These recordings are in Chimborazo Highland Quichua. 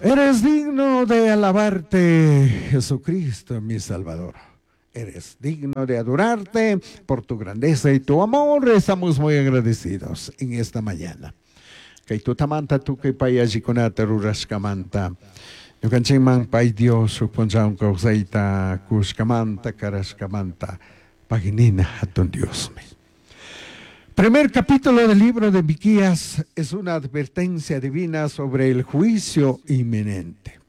Eres digno de alabarte, Jesucristo, mi Salvador. Eres digno de adorarte por tu grandeza y tu amor. Estamos muy agradecidos en esta mañana. Kay tutamanta tukuy pay allikunata rurashkamanta. Ñukanchikman pay Dios shuk punchawan kawsayta kushkamanta, karashkamanta, paginina hatun Diosmi. Primer capítulo del libro de Miqueas es una advertencia divina sobre el juicio inminente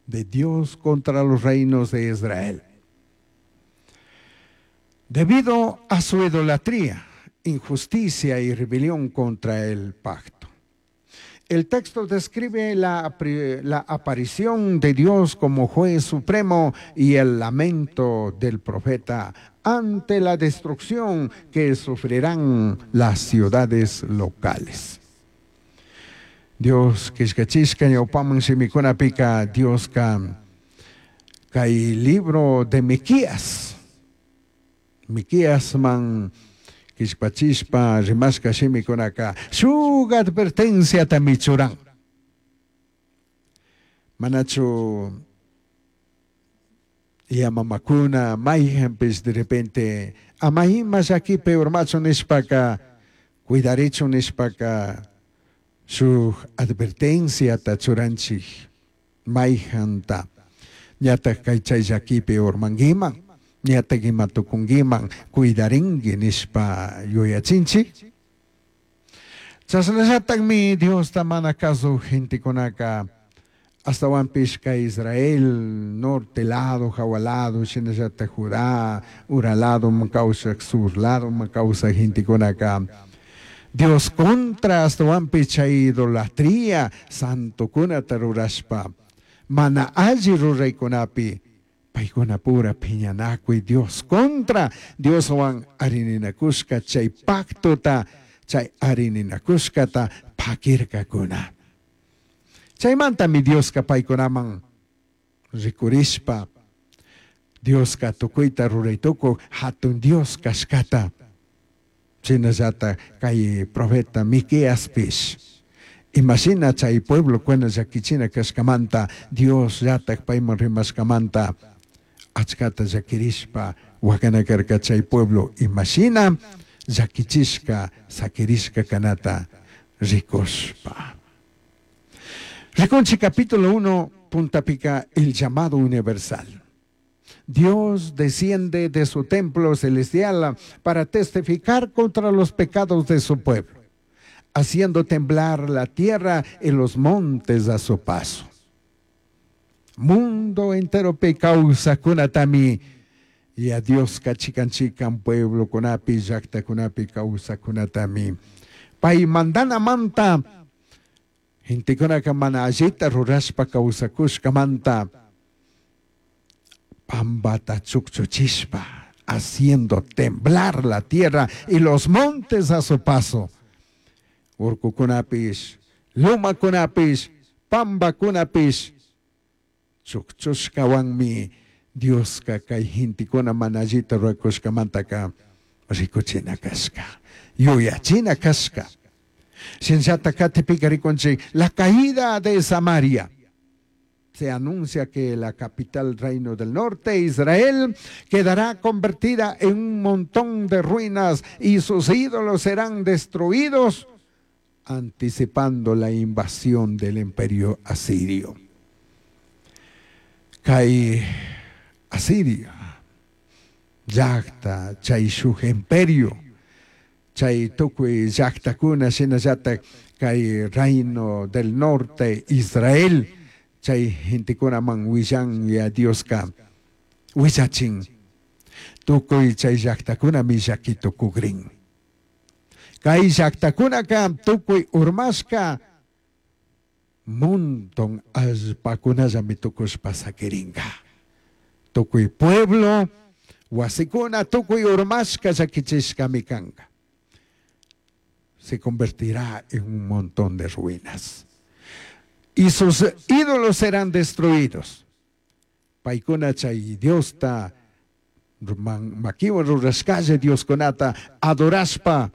de Dios contra los reinos de Israel. Debido a su idolatría, injusticia y rebelión contra el pacto. El texto describe la, la aparición de Dios como juez supremo y el lamento del profeta ante la destrucción que sufrirán las ciudades locales. Dios killkachishka ñawpaman shimikunapika Dioska kay libro de Miquías Miqueasman killpachishpa rimashka shimikunaka shuk advertenciatami churan. Manachu yamamakuna mayjanpish de repente ama ima llakipi urmachun nishpaka cuidarichun nishpaka shuk advertenciata churanchik mayjanta ñatak kay chay llakipi urmankiman ñatak ima tukunkiman cuidarinki nishpa yuyachinchik. Chashnallatakmi Diosta mana kasuj gentekunaka ashtawanpish kay Israel norte lado, jawa lado, shinallatak Judá, ura ladoman kawsak, sur ladoman kawsak gentekunaka Dios contra ashtawanpish chay idolatría santokunata rurashpa mana alli ruraykunapi paykuna pura phiñanakuy Dios contra Dioswan arininakushka chay pactota chay arininakushkata pakirkakuna. Chaymantami Dioska paykunaman rikurishpa Dioska tukuyta ruraytukuq hatun Dios kashkata shinallatak kay profeta Miqueaspish imashina chay pueblokuna llakichina kashkamanta Dios llatak payman rimashkamanta achkata llakirishpa wakana karka chay pueblo imashina llakichishka sakirishka kanata rikushpa. Rikunchik capítulo 1 puntapika el llamado universal. Dios desciende de su templo celestial para testificar contra los pecados de su pueblo, haciendo temblar la tierra y los montes a su paso. Mundo entero kawsajkunatami y a Dios chikan chikan pueblokunapi llaktakunapi kawsajkunatami pay mandanamanta gentekunaka mana allita rurashpa kawsakushkamanta pambata chukchuchishpa haciendo temblar la tierra y los montes a su paso. Urkukunapish, lumakunapish, pambakunapish chukchushkawanmi Dioska kay gentekuna mana allita rurakushkamantaka rikuchina kashka, yuyachina kashka. Shinallata katipika rikunchik la caída de Samaria. Se anuncia que la capital reino del norte, Israel, quedará convertida en un montón de ruinas y sus ídolos serán destruidos, anticipando la invasión del imperio asirio. Kay Asiria, llakta, chay shuk imperio, chay tukuy llaktakuna shinallatak kay reino del norte, Israel, chay gentekunaman willan ya Dioska willachin tukuy chay llaktakunami llaki tukukrin. Kay llaktakunaka tukuy urmashka monton allpakunallami tukushpa sakirinka. Tukuy pueblo, wasikuna tukuy urmashka llakichishkami kanka. Se convertirá en un montón de ruinas. Y sus ídolos serán destruidos. Paykuna chay Diosta makiwan rurashkalla Dioskunata adorashpa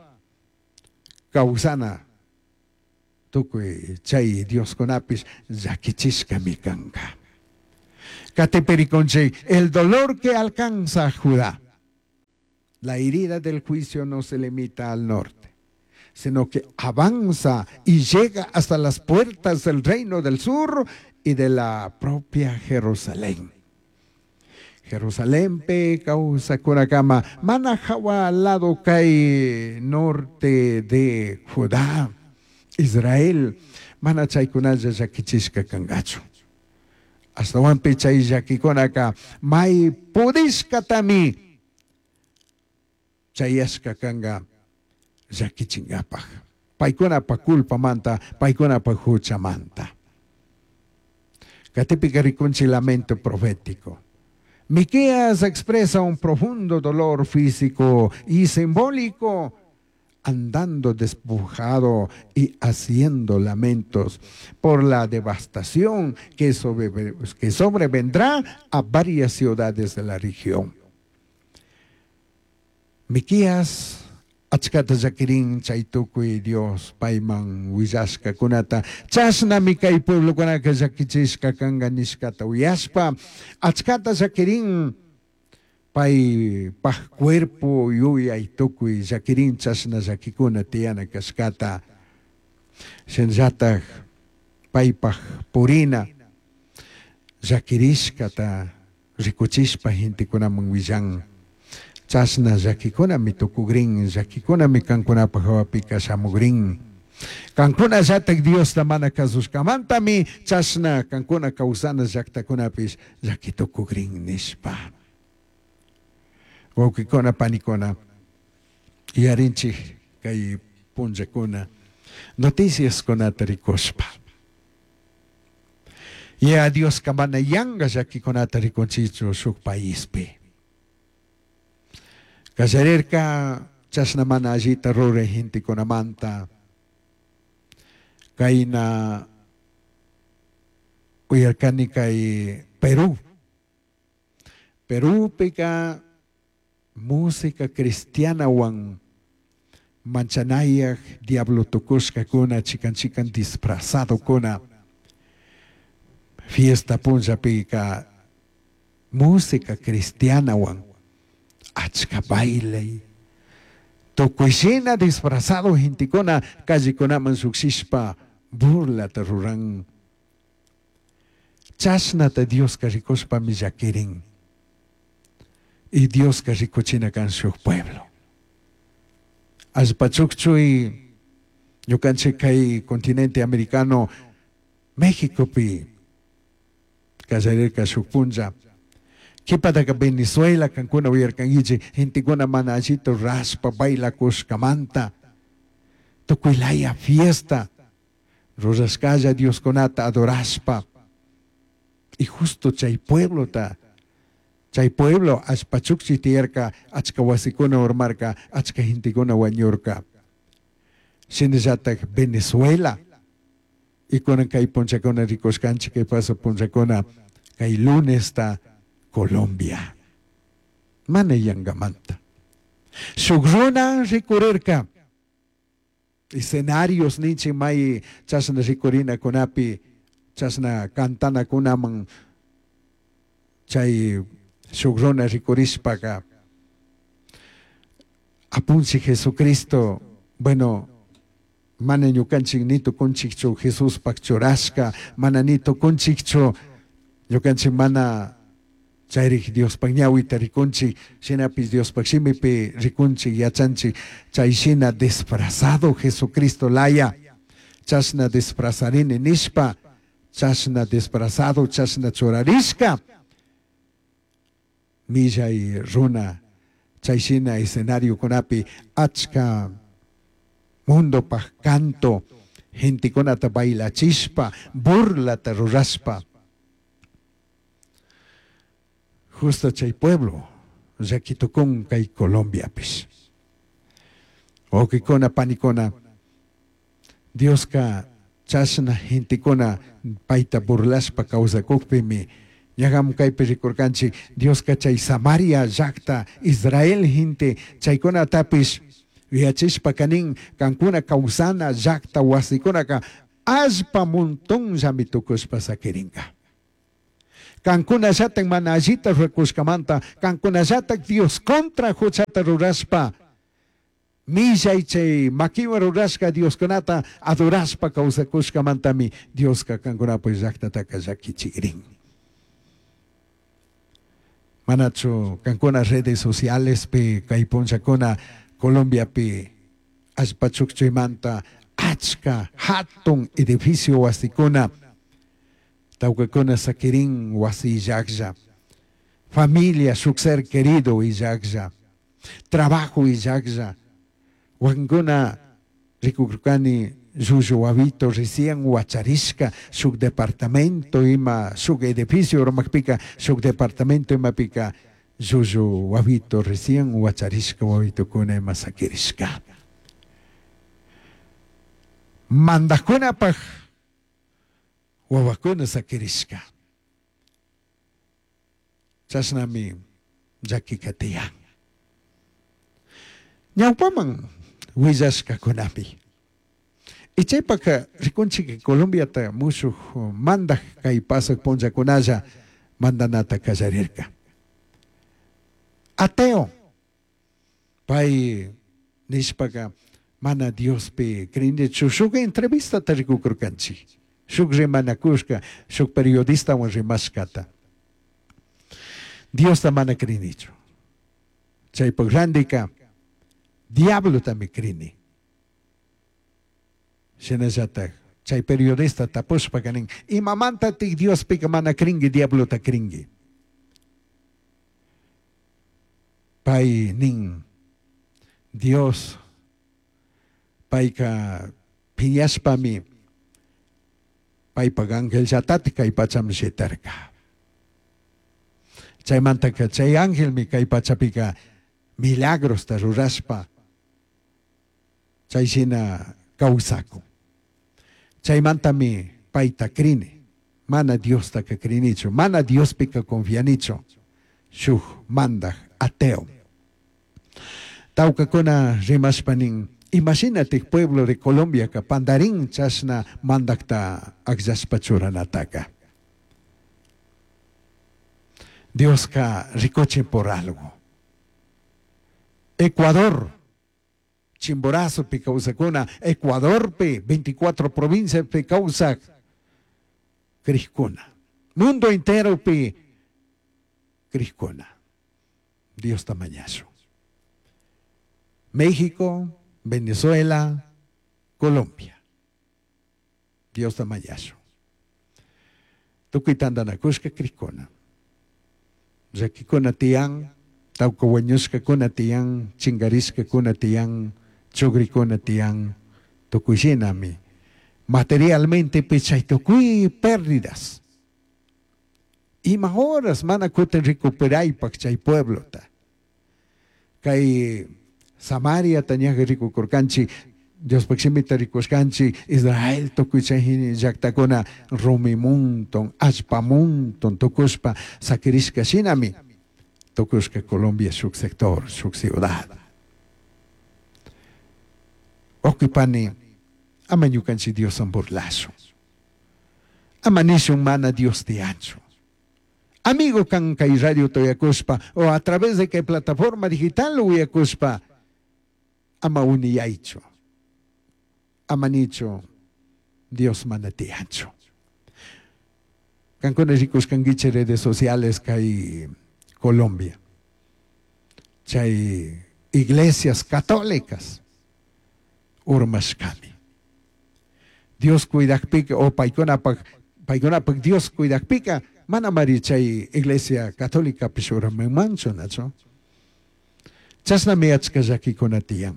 kawsana. Tukuy chay dioskunapish llakichishkami kanka. Katipi rikunchik el dolor que alcanza a Judá. La herida del juicio no se limita al norte, sino que avanza y llega hasta las puertas del reino del sur y de la propia Jerusalén. Jerusalenpi kawsakunakama mana hawa lado kay norte de Judá, Israel, mana chaykunalla llakichishka kankachu. Ashtawanpi chay llakikunaka may pudishkatami chayashka kanka llakichinkapaj. Paykunapa culpamanta, paykunapa huchamanta. Katipika rikunchik lamento profético. Miqueas expresa un profundo dolor físico y simbólico, andando despojado y haciendo lamentos por la devastación que sobrevendrá a varias ciudades de la región. Miqueas achkata llakirin chay tukuy Dios payman willashkakunata chashnami kay pueblokunaka llakichishka kanka nishkata uyashpa achkata llakirin paypaj cuerpo yuyay tukuy llakirin chashna llakikuna tiyana kashkata shinallataj paypaj purina llakirishkata rikuchishpa gentekunaman willan. Chashna llakikunami tukugrin, llakikunami kankunapaj hawapika shamugrin. Kankunallatak Diosta mana kasushkamantami chashna kankuna kawsana llaktakunapish llaki tukugrin nishpa. Wawqikuna panikuna, yarinchik kay punllakuna noticiaskunata rikushpa. Ya Dioska mana yanka llakikunata rikunchikchu shuk paispi. Kallarirka chashna mana allita ruray gentekunamanta kayna uyarkani kay Perú. Perúpika música cristianawan manchanayaj diablo tukushkakuna chikan chikan disfrazadokuna fiesta punllapika música cristianawan achka baile tukuyshina disfrazado gentekuna callekunaman llukshishpa burlata ruran. Chashnata Dioska rikushpami llakirin. Y Dioska rikuchina kan shuk pueblo. Allpachukchuy ñukanchik kay continente americano Mexicopi kallarirka shuk punlla. Kipataka Venezuela kankuna uyarkankichik gentekuna mana allita rashpa bailakushkamanta tukuylaya fiesta rurashkalla Dioskunata adorashpa. Y justo chay pueblota, chay pueblo allpachukchi tiyarka achka wasikuna urmarka achka gentekuna wañurka. Shinallatak Venezuela y kunan kay punllakuna rikushkanchik kay paso punllakuna kay lunesta Colombia. Mana yankamanta. Shuk runa rikurirka. Escenarios ninchik may chashna rikurinakunapi chashna cantanakunaman chay shuk runa rikurishpaka apunchik Jesucristo, bueno, mana ñukanchik ni tukunchikchu Jesuspaj churashka, mana ni tukunchikchu ñukanchik mana chayrik Diospaj ñawita rikunchik, shinapish Diospaj shimipi rikunchik yachanchik chay shina disfrazado Jesucristo laya, chashna disfrazarini nishpa, chashna disfrazado, chashna churarishka, millay runa chay shina escenariokunapi achka mundopaj canto gentekunata bailachishpa, burlata rurashpa. Justo chay pueblo llakitukun kay Colombiapish. Wawqikuna panikuna, Dioska chashna gentekuna payta burlashpa kawsakukpimi ñaqam kaypi rikurkanchik Dioska chay Samaria llaqta Israel gente chaykunatapish yuyachishpa kanin kankuna kawsana llaqta wasikunaka Allpa montonllami tucushpa saquiringa. Cancunallataj mana allita ruracushcamanta, cancunallataj Dios contra juchata rurashpa, millai chay maquiwan rurashca Dioscunata adorashpa causacushcamantami Diosca cancunapaj llajtataca llaquichigrin. Manachu cancuna redes socialespi kay punllakuna Colombiapi allpa chukchuymanta achka hatun edificio wasikuna tawkakuna sakirin wasi illaklla, familia shuk ser querido illaklla, trabajo illaklla, wakinkuna rikukurkani llullu wawito recién wacharishka shuk departamento ima shuk edificio urmakpika shuk departamento imapika llullu wawito recién wacharishka wawitokuna ima sakirishka. Mandajkunapaj wawakuna sakirishka. Chashnami llakika tiyan. Ñawpaman willashkakunami. Y chaypaka rikunchik Colombiata mushuk mandaj kay pasaq punllakunalla mandanata kallarirka. Ateo pay nishpaka mana Diospi crinichu shuk entrevistata rikukurkanchik. Shuk rimanakushka, shuk periodistawan rimashkata. Diosta mana crinichu. Chaypak randika diablotami crini. Shinallataj chay periodista tapushpaka nin, imamantatik Diospika mana cringui, diablota cringui? Pay nin, Dios payka phiñashpami paypak angelllatatik kay pachaman shitarka. Chaymantaka chay angelmi kay pachapika milagrosta rurashpa chay shina kawsakun. Chaymantami payta crini, mana Diostaka crinichu, mana Diospika confianichu, shuk mandaj ateo. Tawkakuna rimashpa nin, imashinatik pueblo de Colombiaka pandarin chashna mandakta akllashpa churanataka. Dioska rikuchin por algo. Ecuador, Chimborazopi kawsakuna, Ecuadorpi, 24 provinciaspi kawsak crijkuna. Mundo enteropi crijkuna. Diosta mañashun. México, Venezuela, Colombia. Diosta mañashun. Tukuy tantanakushka crijkuna. Llakikuna tiyan, tawka wañushkakuna tiyan, chinkarishkakuna tiyan, chugrikuna tiyan, tukuy shinami. Materialmente chay tukuy pérdidas. Ima horas mana kutin recuperaypak chay pueblota. Kay Samaria ñaja rikukurkanchik, Diospaj shimita rikushkanchik, Israel tukuy chay llaktakuna rumi monton, allpa monton tukushpa sakirishka shinami tukushka Colombia shuk sector, shuk ciudad. Wawqipani, ama ñukanchik Dioswan burlashun. Ama nishun mana Dios tiyanchu. Amigo kan kay radio uyakushpa o a través de kay plataforma digital uyakushpa, ama uniyaychu. Ama nichu Dios mana tiyanchu. Kankuna rikushkankichik redes sociales kay Colombia. Chay iglesias católicas urmashkami. Dios cuidakpika o paykunapaj paykunapaj Dios cuidakpika manamari chay iglesia católicapish urmanmanchu, nachu? Chashnami achka llakikuna tiyan.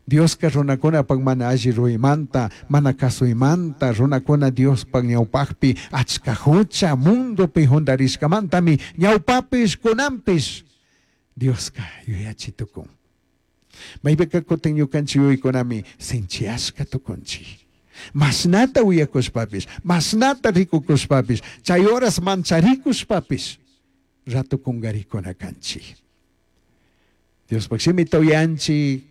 Dioska runakunapaj mana alli ruymanta, mana kasuymanta, runakuna Diospaj ñawpajpi achka hucha mundopi juntarishkamantami ñawpapish kunanpish Dioska yuyachi tukun. Maypika kutin ñukanchik yuyaykunami sinchiyashka tukunchik. Mashnata uyakushpapish, mashnata rikukushpapish, chay horas mancharikushpapish, rato kungarikuna kanchik. Diospaj shimita uyanchik,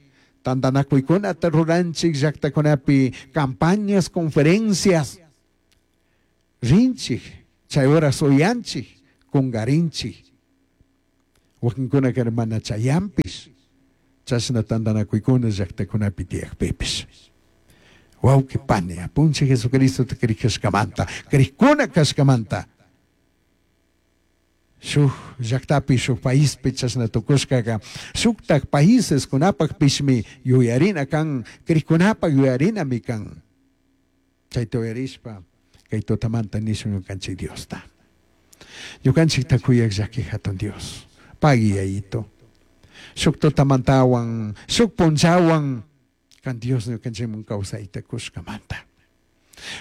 Tantanakuykunata ruranchik llaqtakunapi campañas, conferencias. Rinchik, chay horas uyanchik, kungarinchik. Wakinkunaka mana chayanpish, chashna tantanakuykuna llaqtakunapi tiyakpipish. Wawqi pani, apunchik Jesucristota krikashkamanta, krikkuna kashkamanta. Shuk llaqtapi, shuk paispi chashna tukushkaka, shuktak paíseskunapakpishmi yuyarina kan, krikkunapak yuyarinami kan. Chayta uyarishpa, kay tutamanta nishun ñukanchik Diosta. Ñukanchikta kuyaq llaki hatun Dios, pagui yayito. Shuk tutamantawan, shuk punllawan, kan Dios ñukanchikman kawsayta kushkamanta.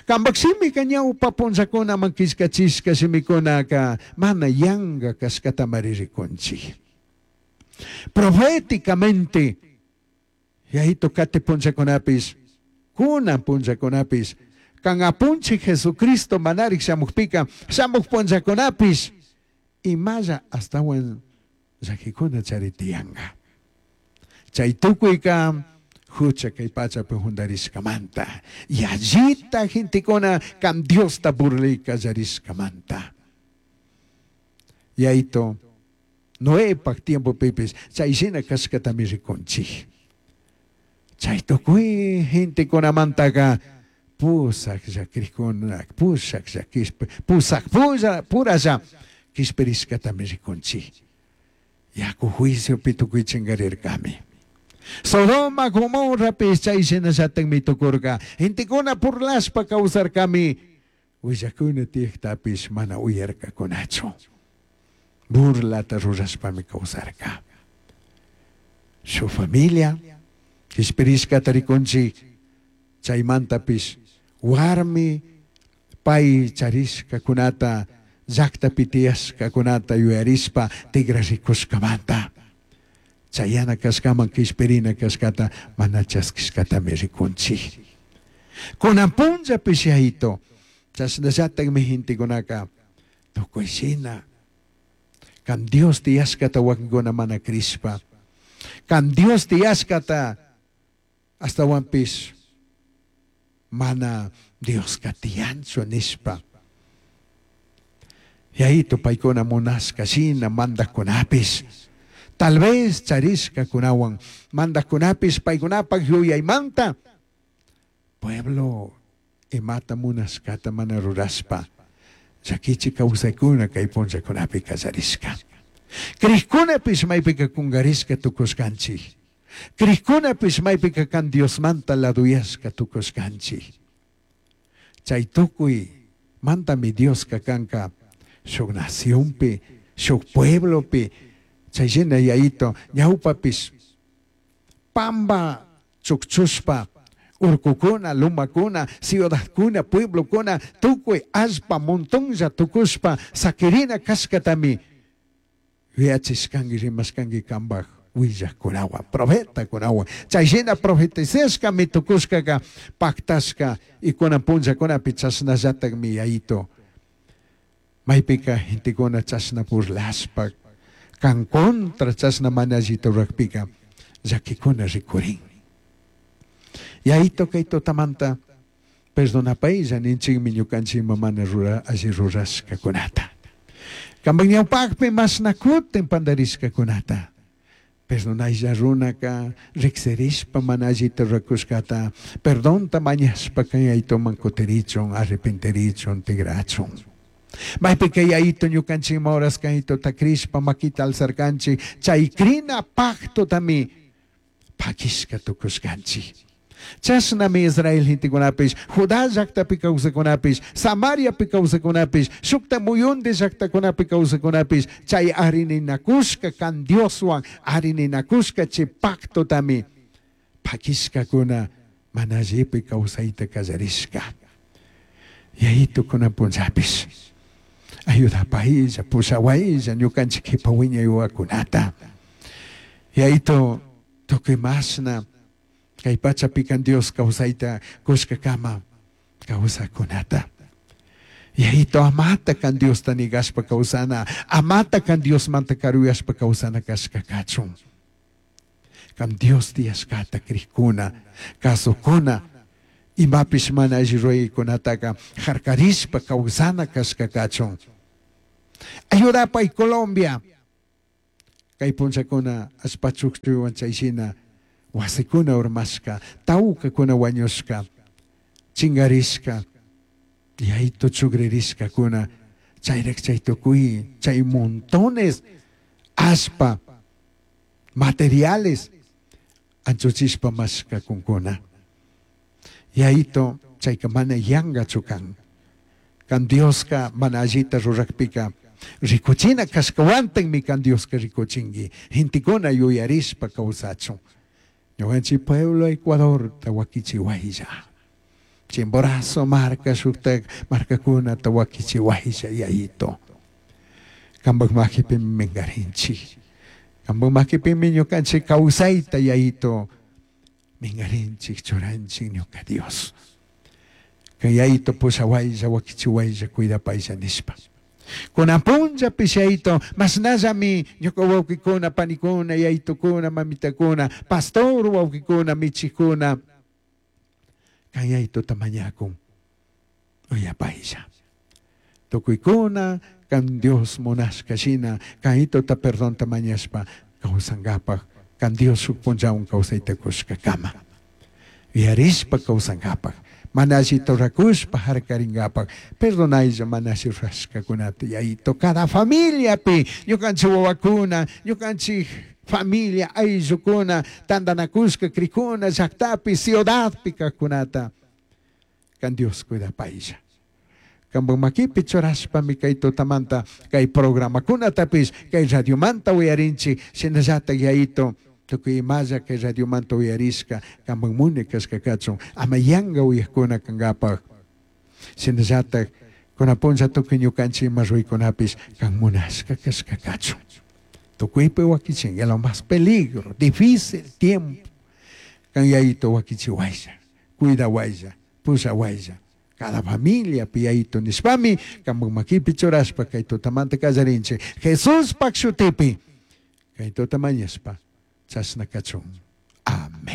Kampak shimika ñawpa punllakunaman killkachishka shimikunaka mana yanka kashkatamari rikunchik. Proféticamente, yayito kati punllakunapish, kunan punllakunapish, kan apunchik Jesucristo manarik shamukpika, shamuk punllakunapish, imalla astawan llakikuna chari tiyanka. Chay tukuyka hucha kay pachapi juntarishkamanta, yallita gentekuna kan Diosta burlay kallarishkamanta. Yayito, Noepak tiempopipis chay shina kashkatami rikunchik. Chay tukuy gentekunamantaka pusak llakirikuna, pusak llakishpa, pusak puralla kishpirishkatami rikunchik. Yaku juiciopi tukuy chinkarirkami. Sodoma, Gomorrapish chay shinallatakmi tukurka. Gentekuna burlashpa kawsarkami, willakuna tiyaktapish mana uyarkakunachu. Burlata rurashpami kawsarka. Shuk familia kishpirishkata rikunchik, chaymantapish warmi pay charishkakunata, llaqtapi tiyashkakunata yuyarishpa tigrarikushkamanta. Chayana kashkaman kishpirina kashkata mana chaskishkatami rikunchik. Kunan punllapish yayito, chashnallatakmi gentekunaka tukuy shina kan Dios tiyashkata wakinkuna mana krishpa, kan Dios tiyashkata astawanpish mana Dioska tiyanchu nishpa. Yayito paykuna munashka shina mandakkunapish, tal vez charishkakunawan mandakkunapish paykunapak yuyaymanta pueblo imata munashkata mana rurashpa llakichi kawsaykuna kay punllakunapi kallarishka. Krikkunapish maypika kunkarishka tukushkanchik. Krikkunapish maypika kan Diosmanta laduyashka tukushkanchik. Chay tukuy mantami Dioska kanka shuk nacionpi, shuk pueblopi, chay shina yayito ñawpapish pamba chukchushpa urkukuna, lumakuna, ciudadkuna, pueblokuna, tukuy allpa montonlla tukushpa sakirina kashkatami yuyachishkanki, rimashkanki kanpak willakkunawan, profetakunawan. Chay shina profetizashkami tukushkaka paktashka y kunan punllakunapi chashnallatakmi yayito. Maypika gentekuna chashna burlashpa kan contra chashna mana allita rurakpika llakikuna rikurin. Yayito kay tutamanta perdonapaylla ninchikmi ñukanchikman mana alli rurashkakunata. Kanpak ñawpakpi mashna kutin pandarishkakunata. Perdonaylla runaka riksirishpa mana allita rurakushkata, perdonta mañashpa kan yayituman kutirichun, arrepentirichun, tigrachun. Maypika yayito ñukanchikman horas kan yayituta krishpa makita alzarkanchik, chay krina pactotami pakishka tukushkanchik. Chashnami Israel gentekunapish, Judá llaqtapi kawsakunapish, Samariapi kawsakunapish, shukta muyundi llaqtakunapi kawsakunapish, chay arininakushka kan Dioswan arininakushka chay pactotami pakishkakuna mana allipi kawsayta kallarishka. Yayito kunan punllapish ayudapaylla, pushawaylla ñukanchik qhipa wiñay wawakunata. Yayito tukuy mashna kay pachapi kan Dios kawsayta kushkakama kawsakunata. Yayito amata kan Diosta nigashpa kawsana, amata kan Diosmanta karuyashpa kawsana kashka kachun. Kan Dios tiyashkata krikuna, kasukuna, imapish mana alli ruraykunataka harkarishpa kawsana kashka kachun. Ayudapay Colombia. Kay punchakuna allpa chukchuywan chayshina wasikuna urmashka, tawkakuna wañushka, chingarishka, yaytu chugririshkakuna, chayrak chay tukuy chay montones allpa materiales anchuchishpa mashkakunkuna. Yayito chayka mana yangachu kan. Kan Dioska mana allita rurakpika rikuchina kashkawantakmi kan Dioska rikuchinki. Gentekuna yuyarishpa kawsachun. Ñukanchik pueblo Ecuadorta wakichiwaylla. Chimborazo marka shuktak markakunata wakichiwaylla yayito. Kanpak makipimi minkarinchik. Kanpak makipimi ñukanchik kawsayta yayito minkarinchik churanchik ñuka Dios. Kay yayito pushawaylla wakichiwaylla cuidapaylla nishpa. Kunan punllapish yayito mashnallami ñuka wawkikuna panikuna yayitukuna mamitakuna pastor wawkikuna michikuna kan yayituta mañakun uyapaylla. Tukuykuna kan Dios munashka shina kan yayituta perdonta mañashpa kawsankapak kan Dios shuk punllawan kawsayta kushkakama. Yuyarishpa kawsankapak mana allita rurakushpa harkarinkapak perdonaylla mana alli rurashkakunata yayito cada familiapi ñukanchik wawakuna ñukanchik familia ayllukuna tantanakushka krikuna llaktapi ciudadpi kajkunata kan Dios cuidapaylla. Kanpak makipi churashpami kay tutamanta kay programakunatapish kay radiomanta uyarinchik shinallatak yayito tukuy imalla kay radiomanta uyarishka kanpak muni kashka kachun ama yanka uyakuna kankapak shinallatak kunan punlla tukuy ñukanchik ima ruraykunapish kan munashka kashka kachun. Tukuypi wakichin lo más peligro, difícil tiempo. Kan yayito wakichiwaylla, cuidawaylla, pushawaylla. Cada familia yayito nishpami kanpak makipi churashpa kay tutamanta kallarinchik Jesuspak shutipi kay tuta mañashpa chashna kachun.